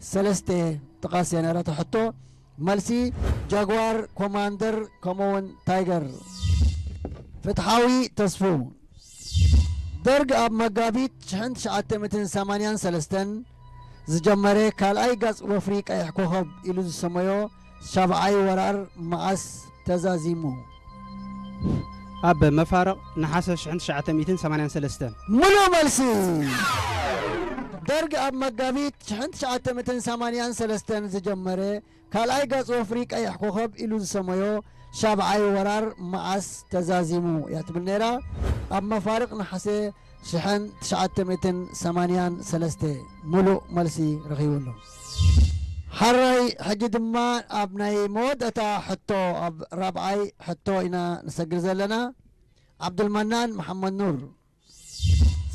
ሰለስተ ጥቓስ እያ ነይራታ ሕቶ። መልሲ ጃጓር፣ ኮማንደር ከምኡውን ታይገር። ፍትሓዊ ተስፉ። ደርግ ኣብ መጋቢት ሽሕን ትሽዓተ ሚእትን ሰማንያን ሰለስተን ዝጀመረ ካልኣይ ገጽ ወፍሪ ቀይሕ ኮኸብ ኢሉ ዝሰመዮ ሻብዓይ ወራር መዓስ ተዛዚሙ? ኣብ መፋርቕ ነሓሰ ሽሕን ትሽዓተ ሚእትን ሰማንያን ሰለስተን። ሙሉእ መልሲ። ደርግ ኣብ መጋቢት ሽሕን ትሽዓተ ሚእትን ሰማንያን ሰለስተን ዝጀመረ ካልኣይ ገጽ ወፍሪ ቀይሕ ኮኸብ ኢሉ ዝሰመዮ ሻብዓይ ወራር መዓስ ተዛዚሙ እያ ትብል ነይራ። ኣብ መፋርቕ ነሓሰ ሽሕን ትሽዓተ ሚእትን ሰማንያን ሰለስተ። ሙሉእ መልሲ ረኺቡ ኣሎ። ሓራይ ሕጂ ድማ ኣብ ናይ መወዳእታ ሕቶ፣ ኣብ ራብዓይ ሕቶ ኢና ንሰግር ዘለና። ዓብዱልመናን መሓመድ ኑር።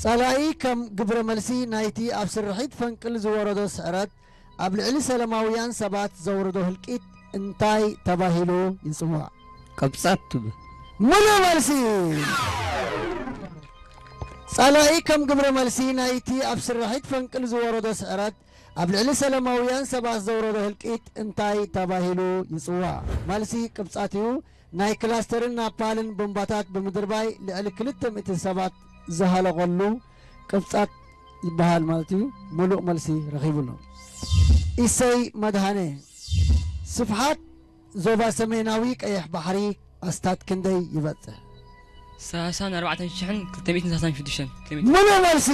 ጸላኢ ከም ግብረ መልሲ ናይቲ ኣብ ስርሒት ፈንቅል ዝወረዶ ስዕረት ኣብ ልዕሊ ሰላማውያን ሰባት ዘውረዶ ህልቂት እንታይ ተባሂሉ ይጽዋዕ? ቅብጻት ትብል። ሙሉእ መልሲ። ጸላኢ ከም ግብረ መልሲ ናይቲ ኣብ ስርሒት ፈንቅል ዝወረዶ ስዕረት ኣብ ልዕሊ ሰላማውያን ሰባት ዘውረዶ ህልቂት እንታይ ተባሂሉ ይጽዋዕ? መልሲ ቅብጻት እዩ። ናይ ክላስተርን ናፓልን ቦምባታት ብምድርባይ ልዕሊ ክልተ ሚእቲ ሰባት ዝሃለቐሉ ቅብጻት ይበሃል ማለት እዩ። ሙሉእ መልሲ ረኺቡ ኣሎ። ኢሰይ መድሃነ። ስፍሓት ዞባ ሰሜናዊ ቀይሕ ባሕሪ ኣስታት ክንደይ ይበጽሕ? ሰላሳን ኣርባዕተን ሽሕን ክልተ ሚእትን ሰላሳን ሽዱሽተን ኪሎ ሜትር። ሙሉእ መልሲ።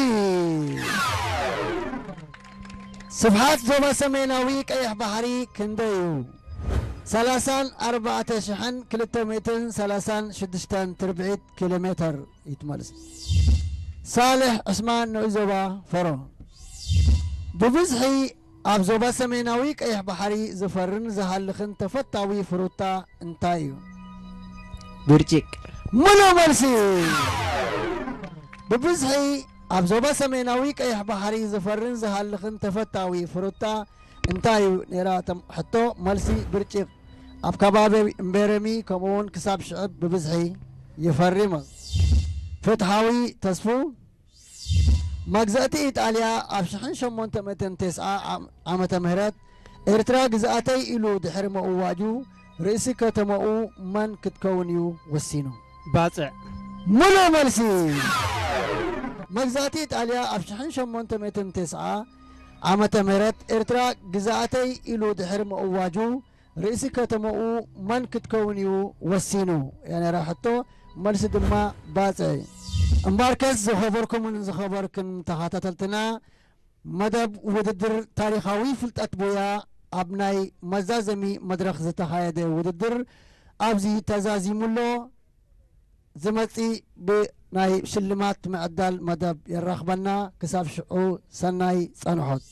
ስፍሓት ዞባ ሰሜናዊ ቀይሕ ባሕሪ ክንደይ እዩ? ሰላሳን ኣርባዕተ ሽሕን ክልተ ሚእትን ሰላሳን ሽዱሽተን ትርብዒት ኪሎ ሜትር እዩ እቲ መልሲ። ሳልሕ ዕስማን ንኡስ ዞባ ፈሮ። ብብዝሒ ኣብ ዞባ ሰሜናዊ ቀይሕ ባሕሪ ዝፈርን ዝሃልኽን ተፈታዊ ፍሩታ እንታይ እዩ? ብርጭቅ። ሙሉእ መልሲ። ብብዝሒ ኣብ ዞባ ሰሜናዊ ቀይሕ ባሕሪ ዝፈርን ዝሃልኽን ተፈታዊ ፍሩታ እንታይ እዩ ነይራ? ተም-፣ ሕቶ፣ መልሲ ብርጭቅ። ኣብ ከባቢ እምቤረሚ ከምኡውን ክሳብ ሽዕብ ብብዝሒ ይፈሪ። ፍትሓዊ ተስፉ። መግዛእቲ ኢጣልያ ኣብ ሽሕን ሸሞንተ ሚእትን ተስዓ ዓም-፣ ዓመተ ምህረት ኤርትራ ግዝኣተይ ኢሉ ድሕሪ ምእዋጁ ርእሲ ከተማኡ መን ክትከውን እዩ ወሲኑ? ባጽዕ። ሙሉእ መልሲ። መግዛእቲ ኢጣልያ ኣብ ሽሕን ሸሞንተ ሚእትን ተስዓ ዓመተ ምህረት ኤርትራ ግዝኣተይ ኢሉ ድሕሪ ምእዋጁ ርእሲ ከተማኡ መን ክትከውን እዩ ወሲኑ? እያ ነይራ ሕቶ። መልሲ ድማ ባጽዕ። እምበኣርከስ ዝኸበርኩምን ዝኸበርክን ተኸታተልትና፣ መደብ ውድድር ታሪኻዊ ፍልጠት ቡያ ኣብ ናይ መዛዘሚ መድረኽ ዝተኻየደ ውድድር ኣብዚ ተዛዚሙ ኣሎ። ዝመጽእ ብናይ ሽልማት ምዕዳል መደብ የራኽበና። ክሳብ ሽዑ ሰናይ ጸንሖት።